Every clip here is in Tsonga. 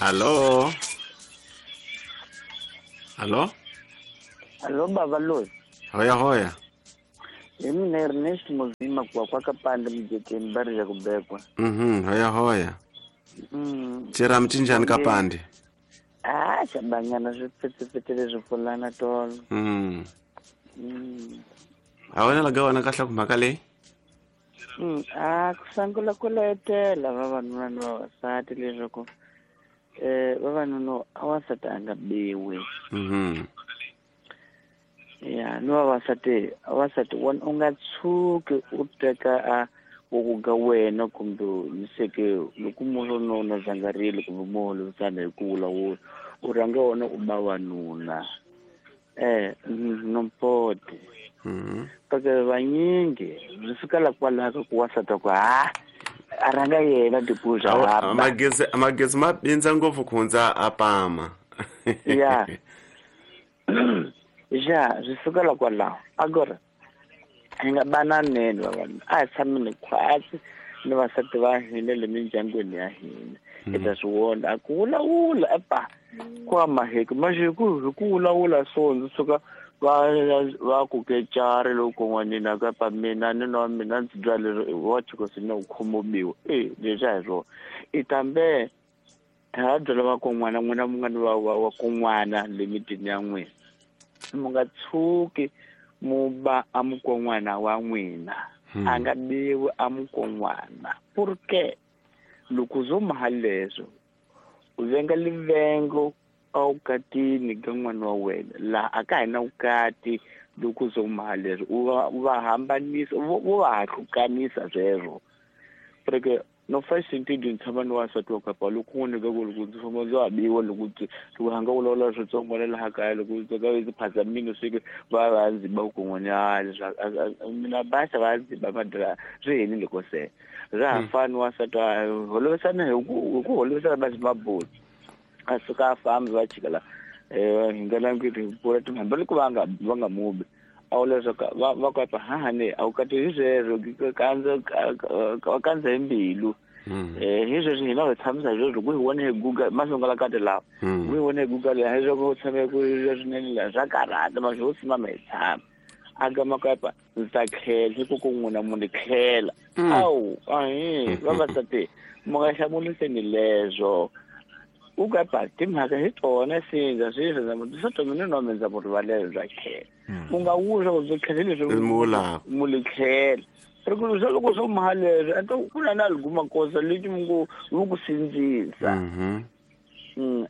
Hallo. Hallo. Hallo baba loyi. Hoya hoya. Hi mina Ernest Muzima kwa kwa kapande mjekeni bari ya kubekwa. Hoya hoya. Chera mchinjani kapande. Ah, xabanyana swi pfetsepfetse leswi pfulana tolo. A wena laga wena kahle ku mhaka leyi? A ku sungula ku letela vavanuna ni vavasati leswaku vavanuna a wansati a nga biwi. Ya ni vavasati a wansati wona u nga tshuki u teka a ku ga wena kumbe niseke loko munhu no na zangarile kumbe munhu lovisana hi ku vulavula u rhanga wona u ba wanuna nompote. Kake vanyingi swi fikela kwalaho ku wansati ku ha a rhanga yena tipuza magezi ma bindza ngopfu ku hundza a pama. Ya ja swi fikela kwalaho agora hi nga bananeni vavanuna a hi tshameni khwatsi ni vasati va hina le mindyangwini ya hina hi ta swi vona a ku vulavula epa ku amaheki manje hi ku vulavula so ndzi suka va ku kecari loko n'wanina kapa mina ni nwa mina ndzi bya leswi wa tshikosi na ku khomobiwa leswi a hi swona i tambe ha byela vakon'wana n'wina mu nga ni va kon'wana le mitini ya n'wina mu nga tshuki mu ba a mukon'wana wa n'wina a nga biwi a mukon'wana porque loko zo maha leswo u venga livengo a wukatini ka n'wana wa wena laha a ka hi na wukati loko zo maha leswo u va hambanisa u va hahlukanisa sweswo porque no fashion ti ndzi tshama ni wansati wa kapa loko n'wini ka ku loko ndzi famba ndzi habiwa loko loko hanga vulavula switsongo na laha kaya loko ka ndzi phasa mino swi va va ndzi ba ku n'wanyana mina basa va ndzi ba madra swi helile ko se ra ha fani wansati wa holovisana hi ku holovisana va mabulu a suka a fambi va chika la hi nga languti hi pfula timhamba loko va nga mubi a wu leswaku va kota hahani a wu kati hi sweswo kandza hi mbilu hi sweswo hina hi tshamisa hi sweswo ku hi vone hi Google masungula kati lawa ku hi vone hi Google hi sweswo ku tshame ku swinene laha swa karhata masho wo simama hi tshama a gama kapa ndzi ta tlhela hi ku ku n'wina mu ni tlhela awu ahi vavasati mu nga hlamuliseni leswo u kapa timhaka hi tona sindza sweswo swo to mina no ndza mu rivalela bya tlhela u nga wuswa ku byi tlhela leswi mu li tlhela ri ku swa loko swo maha leswi a to ku na na liguma kosa leti mu ngo mu ku sindzisa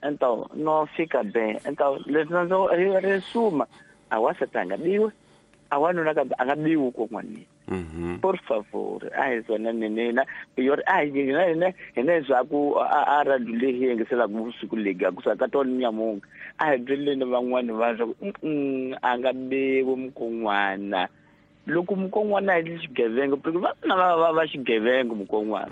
ento no fika be ento leswi ndzo ri suma a wansati a nga biwi a wanuna kambe a nga biwi kon'wanini por favor a hi swona nina yori a hi hina hina hina swa ku a radio leyi hi yingiselaka vusiku legi a kusuka ka tona nyamunga a hi byeleni van'wani va swa ku a nga biwi mukon'wana loko mukon'wana hi xigevenga porque va na va xigevenga mukon'wana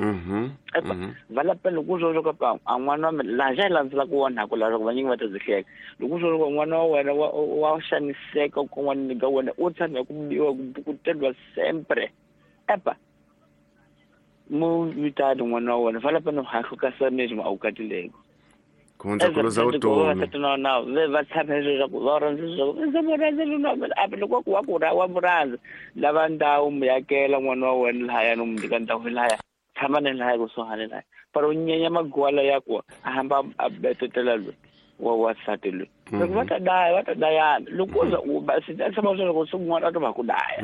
va lapela loko swo swo ka a n'wana wa mina laha xa hi landzelaka wona ku laha vanyingi va ta byi hleka loko swo swo n'wana wa wena wa xaniseka kon'wanini ka wena u tshama hi ku biwa ku bukuteriwa sempre epa mu vitani n'wana wa wena va lapa no hahlukasa mesmo a wu katileko ku hundza ku luza vutomi va tshama leswaku va rhandza leswaku ndzi mu rhandza nuna a loko ku wa ku wa mu rhandza lava ndhawu mu yakela n'wana wa wena lahaya no mu nyika ndhawu lahaya tshama ni lahaya kusuhani lahaya pero u nyenya magwala ya ku a hamba a betetela loyi wa wansati loyi loko va ta daya va ta dayana loko u za u ba swi ta tshama leswaku swin'wana a to va ku daya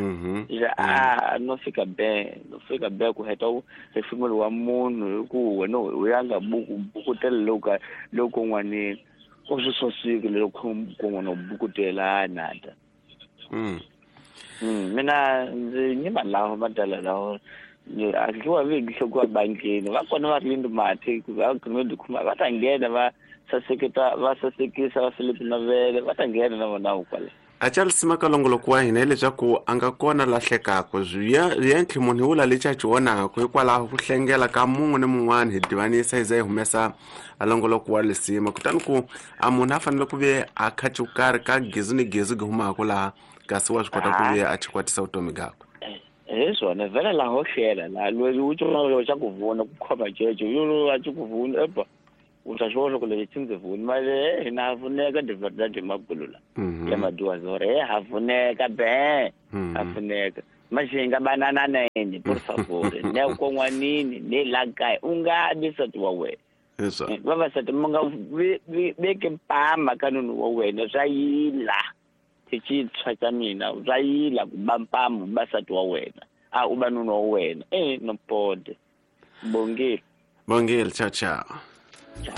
a no fika be no fika be ku heta hefemulo wa munhu hi ku wena u ya nga bukutela loko loko n'wanini u swi sosiki loko kun'wana u bukutela nata mina ndzi nyima lawa madala lawa a dliwa vi nhloko bankini va kona va ri mati va gumedi khuma va ta nghena va saseketa va sasekisa va Philip Navele va ta nghena na vona kwala a Charles Makalongoloko wa hina hileswaku a nga kona lahlekaka swi munhu hi wula lexi a xi vonaka hikwalaho ku hlengela ka mun'we ni mun'wana hi divanisa hi za hi humesa a longoloko wa lisima kutani ku a munhu a fanele ku ve a kha karhi ka gezi ni gezi gi humaka laha kasi wa swi kota ku ve a chikwatisa vutomi byakwe hi swona vhele laha ho hlela laha loyi u tsonga xa ku vona ku khoma ceco yo a xi ku vona epa. U ta swi vona loko leyi ndzi vuni male hina ha pfuneka de verdade magulula ya maduwazore he ha pfuneka be ha pfuneka manje hi nga banananeni por favor ne kon'wanini ne la kaya u nga bi nsati wa wena. Vavasati mi nga veki mpama ka nunu wa wena, swa yila xitshwa xa mina, swa yila ku ba mpama u ba nsati wa wena, a u ba nunu wa wena. No pode. Bongile. Bongile, ciao ciao.